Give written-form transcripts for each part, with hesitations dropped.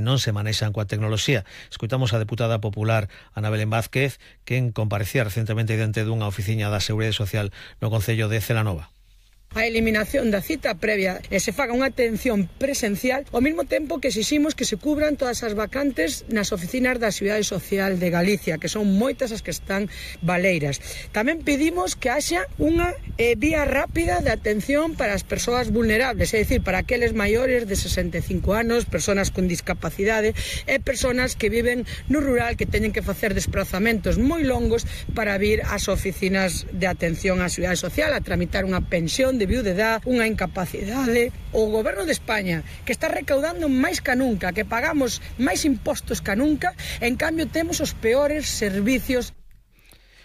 non se manexan coa tecnoloxía. Escoitamos a deputada popular Ana Belén Vázquez, quen comparecía recentemente diante dunha oficina da Seguridade Social no concello de Celanova. A eliminación da cita previa e se faga unha atención presencial ao mesmo tempo que exiximos que se cubran todas as vacantes nas oficinas da Seguridade Social de Galicia, que son moitas as que están baleiras. Tamén pedimos que haxa unha vía rápida de atención para as persoas vulnerables, é dicir, para aqueles maiores de 65 anos, persoas con discapacidade e persoas que viven no rural que teñen que facer desplazamentos moi longos para vir ás oficinas de atención á Seguridade Social a tramitar unha pensión de viudedad, unha incapacidade. O Goberno de España, que está recaudando máis ca nunca, que pagamos máis impostos ca nunca, en cambio temos os peores servicios.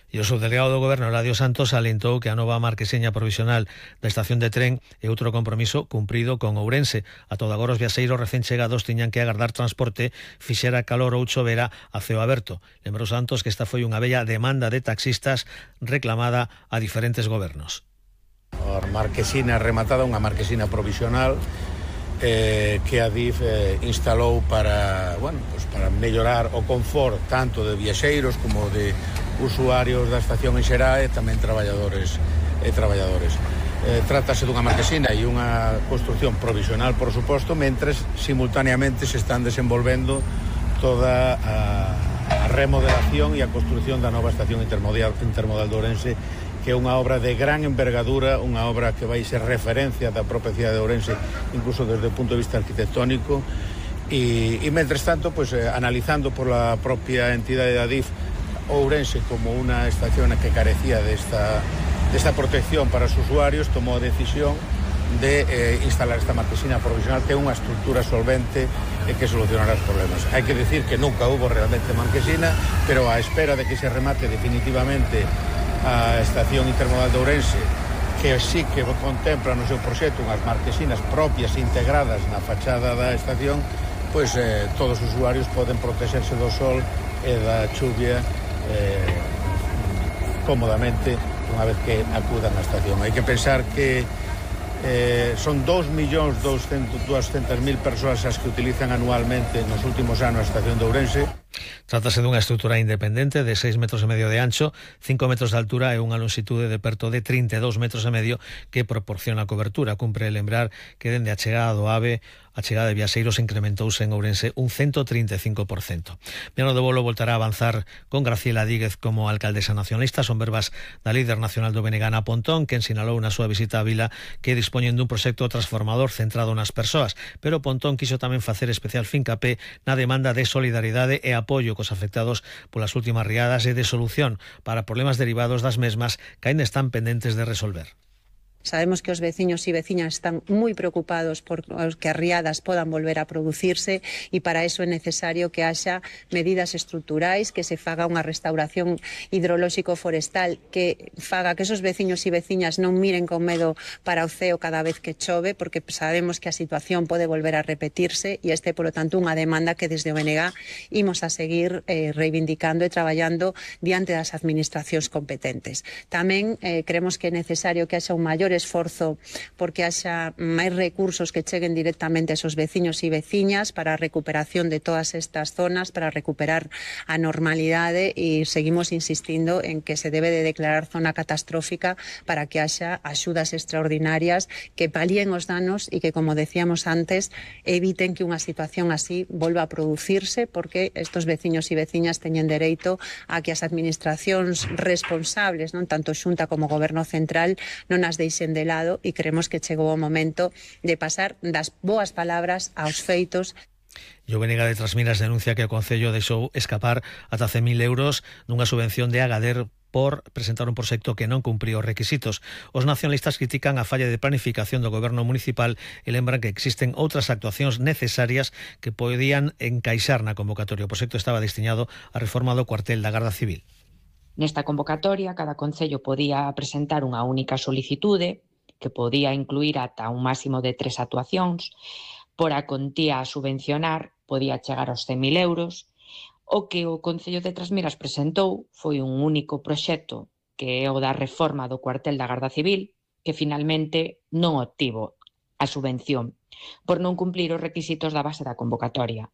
E o subdelegado do Goberno, Eladio Santos, alentou que a nova marquesiña provisional da estación de tren é outro compromiso cumprido con Ourense. A todo agora os viaxeiros recén chegados tiñan que agardar transporte, fixera calor ou chovera a ceo aberto. Lembrou Santos que esta foi unha bella demanda de taxistas reclamada a diferentes gobernos. A marquesina rematada, unha marquesina provisional que a DIF instalou para mellorar o confort tanto de viaxeiros como de usuarios da estación en xeral e tamén traballadores. Trátase dunha marquesina e unha construcción provisional, por suposto, mentres simultaneamente se están desenvolvendo toda a remodelación e a construcción da nova estación intermodal de Ourense, que é unha obra de gran envergadura, unha obra que vai ser referencia da propia cidade de Ourense, incluso desde o punto de vista arquitectónico, e mentres tanto, analizando por la propia entidade da DIF Ourense como unha estación que carecía desta protección para os usuarios, tomou a decisión de instalar esta marquesina provisional, que é unha estructura solvente e que solucionará os problemas. Hai que decir que nunca hubo realmente marquesina, pero á espera de que se remate definitivamente a estación intermodal de Ourense, que sí que contempla no seu proxecto unhas marquesinas propias integradas na fachada da estación, todos os usuarios poden protexerse do sol e da chuvia cómodamente unha vez que acudan á estación. Hai que pensar que son 2.200.000 persoas as que utilizan anualmente nos últimos anos a estación de Ourense. Trátase dunha estrutura independente de 6,5 metros de ancho, 5 metros de altura e unha longitude de perto de 32,5 metros que proporciona cobertura. Cumpre lembrar que dende a chegada do AVE, a chegada de viaxeiros incrementouse en Ourense un 135%. Miano de Bolo voltará a avanzar con Graciela Díguez como alcaldesa nacionalista. Son verbas da líder nacional do BNG, Ana Pontón, que sinalou na súa visita a Vila que dispoñen dun proxecto transformador centrado nas persoas, pero Pontón quiso tamén facer especial fincapé na demanda de solidaridade e apoio cos afectados polas últimas riadas e de solución para problemas derivados das mesmas que aínda están pendentes de resolver. Sabemos que os veciños e veciñas están moi preocupados por que as riadas podan volver a producirse e para eso é necesario que haxa medidas estruturais, que se faga unha restauración hidrolóxico-forestal que faga que esos veciños e veciñas non miren con medo para o ceo cada vez que chove, porque sabemos que a situación pode volver a repetirse e este, polo tanto, unha demanda que desde o BNG imos a seguir reivindicando e traballando diante das administracións competentes. Tamén creemos que é necesario que haxa un maior esforzo porque haxa máis recursos que cheguen directamente a esos veciños e veciñas para a recuperación de todas estas zonas, para recuperar a normalidade, e seguimos insistindo en que se debe de declarar zona catastrófica para que haxa axudas extraordinarias que palíen os danos e que, como decíamos antes, eviten que unha situación así volva a producirse, porque estos veciños e veciñas teñen dereito a que as administracións responsables, non tanto Xunta como Goberno Central, non as deixen de lado, e creemos que chegou o momento de pasar das boas palabras aos feitos. E o BNG de Trasmiras denuncia que o Concello deixou escapar ata 100.000 euros dunha subvención de Agader por presentar un proxecto que non cumpría os requisitos. Os nacionalistas critican a falla de planificación do Goberno municipal e lembran que existen outras actuacións necesarias que podían encaixar na convocatoria. O proxecto estaba destinado á reforma do cuartel da Garda Civil. Nesta convocatoria, cada concello podía presentar unha única solicitude que podía incluir ata un máximo de 3 actuacións. Por a contía a subvencionar podía chegar aos 100.000 euros. O que o Concello de Trasmiras presentou foi un único proxecto, que é o da reforma do cuartel da Garda Civil, que finalmente non obtivo a subvención por non cumplir os requisitos da base da convocatoria.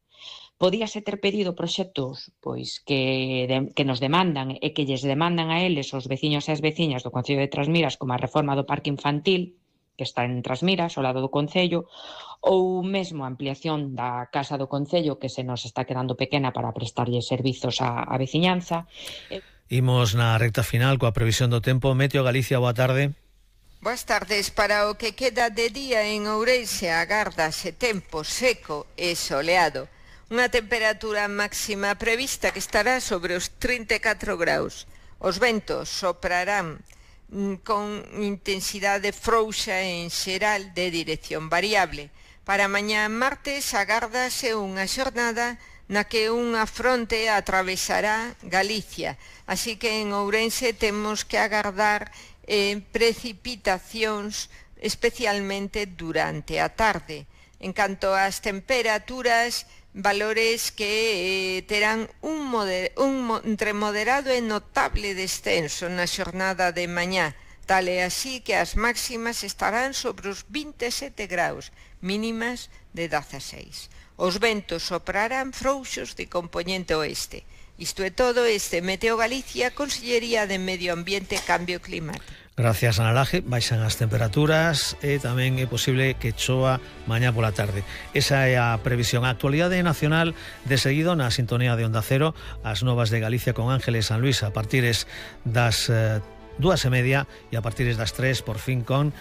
Podíase ter pedido proxectos pois que nos demandan e que lles demandan a eles os veciños e as veciñas do Concello de Trasmiras, como a reforma do parque infantil, que está en Trasmiras, ao lado do Concello, ou mesmo a ampliación da Casa do Concello, que se nos está quedando pequena para prestarlle servizos á veciñanza. Imos na recta final coa previsión do tempo. Meteo Galicia, boa tarde. Boas tardes. Para o que queda de día en Ourense agárdase tempo seco e soleado. Unha temperatura máxima prevista que estará sobre os 34 graus. Os ventos soprarán con intensidade frouxa en xeral de dirección variable. Para mañá martes agárdase unha xornada na que unha fronte atravesará Galicia, así que en Ourense temos que agardar precipitacións especialmente durante a tarde. En canto ás temperaturas, valores que terán entre moderado e notable descenso na xornada de mañá, tal e así que as máximas estarán sobre os 27 graus, mínimas de 16. Os ventos soprarán frouxos de compoñente oeste. Isto é todo. Este Meteo Galicia, Consellería de Medio Ambiente e Cambio Climático. Gracias, Ana Laje. Baixan as temperaturas e tamén é posible que choa mañá pola tarde. Esa é a previsión. A actualidade nacional de seguido na sintonía de Onda Cero, as novas de Galicia con Ángeles San Luis a partires das 2:30 e a partires das 3 por fin con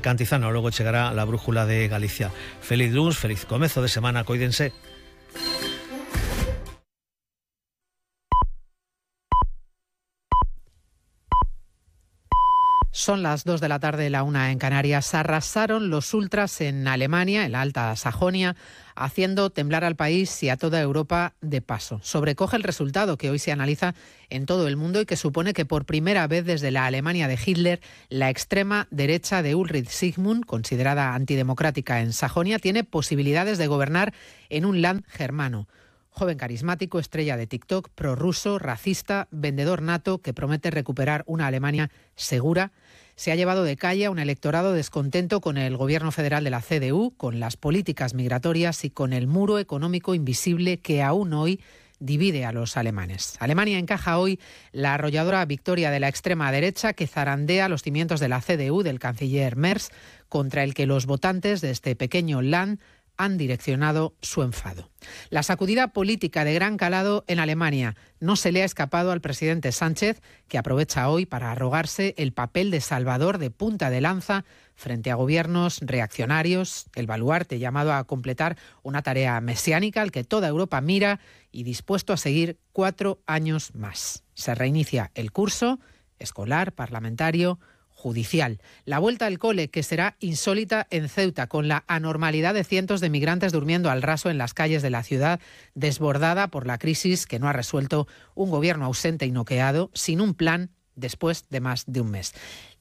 Cantizano. Logo chegará la brújula de Galicia. Feliz luns, feliz comezo de semana, coídense. Son las 2 de la tarde, la 1 en Canarias. Arrasaron los ultras en Alemania, en la Alta Sajonia, haciendo temblar al país y a toda Europa de paso. Sobrecoge el resultado que hoy se analiza en todo el mundo y que supone que por primera vez desde la Alemania de Hitler, la extrema derecha de Ulrich Sigmund, considerada antidemocrática en Sajonia, tiene posibilidades de gobernar en un land germano. Joven carismático, estrella de TikTok, prorruso, racista, vendedor nato que promete recuperar una Alemania segura, se ha llevado de calle a un electorado descontento con el gobierno federal de la CDU, con las políticas migratorias y con el muro económico invisible que aún hoy divide a los alemanes. Alemania encaja hoy la arrolladora victoria de la extrema derecha que zarandea los cimientos de la CDU del canciller Merz, contra el que los votantes de este pequeño land han direccionado su enfado. La sacudida política de gran calado en Alemania no se le ha escapado al presidente Sánchez, que aprovecha hoy para arrogarse el papel de salvador de punta de lanza frente a gobiernos reaccionarios, el baluarte llamado a completar una tarea mesiánica al que toda Europa mira y dispuesto a seguir 4 años más. Se reinicia el curso escolar, parlamentario, judicial. La vuelta al cole, que será insólita en Ceuta, con la anormalidad de cientos de migrantes durmiendo al raso en las calles de la ciudad, desbordada por la crisis que no ha resuelto un gobierno ausente y noqueado, sin un plan después de más de un mes.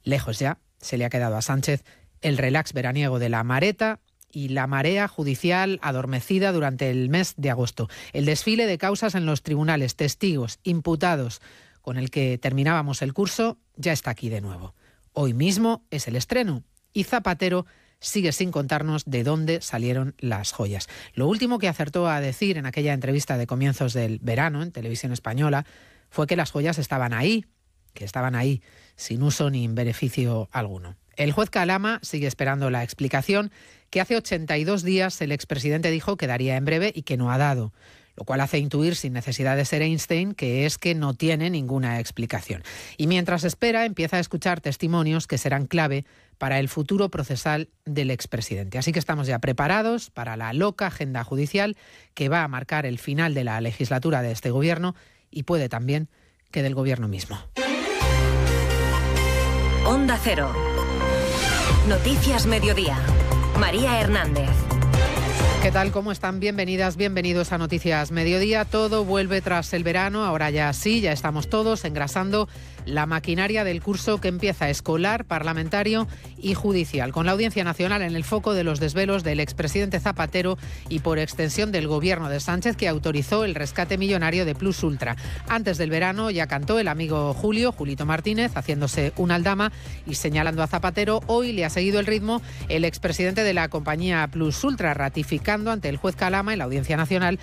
Lejos ya se le ha quedado a Sánchez el relax veraniego de la Mareta y la marea judicial adormecida durante el mes de agosto. El desfile de causas en los tribunales, testigos, imputados, con el que terminábamos el curso, ya está aquí de nuevo. Hoy mismo es el estreno y Zapatero sigue sin contarnos de dónde salieron las joyas. Lo último que acertó a decir en aquella entrevista de comienzos del verano en Televisión Española fue que las joyas estaban ahí, sin uso ni beneficio alguno. El juez Calama sigue esperando la explicación que hace 82 días el expresidente dijo que daría en breve y que no ha dado, lo cual hace intuir, sin necesidad de ser Einstein, que es que no tiene ninguna explicación. Y mientras espera, empieza a escuchar testimonios que serán clave para el futuro procesal del expresidente. Así que estamos ya preparados para la loca agenda judicial que va a marcar el final de la legislatura de este gobierno y puede también que del gobierno mismo. Onda Cero. Noticias Mediodía. María Hernández. ¿Qué tal? ¿Cómo están? Bienvenidas, bienvenidos a Noticias Mediodía. Todo vuelve tras el verano, ahora ya sí, ya estamos todos engrasando la maquinaria del curso que empieza escolar, parlamentario y judicial, con la Audiencia Nacional en el foco de los desvelos del expresidente Zapatero y por extensión del gobierno de Sánchez, que autorizó el rescate millonario de Plus Ultra. Antes del verano ya cantó el amigo Julito Martínez, haciéndose una aldama y señalando a Zapatero. Hoy le ha seguido el ritmo el expresidente de la compañía Plus Ultra, ratificando ante el juez Calama en la Audiencia Nacional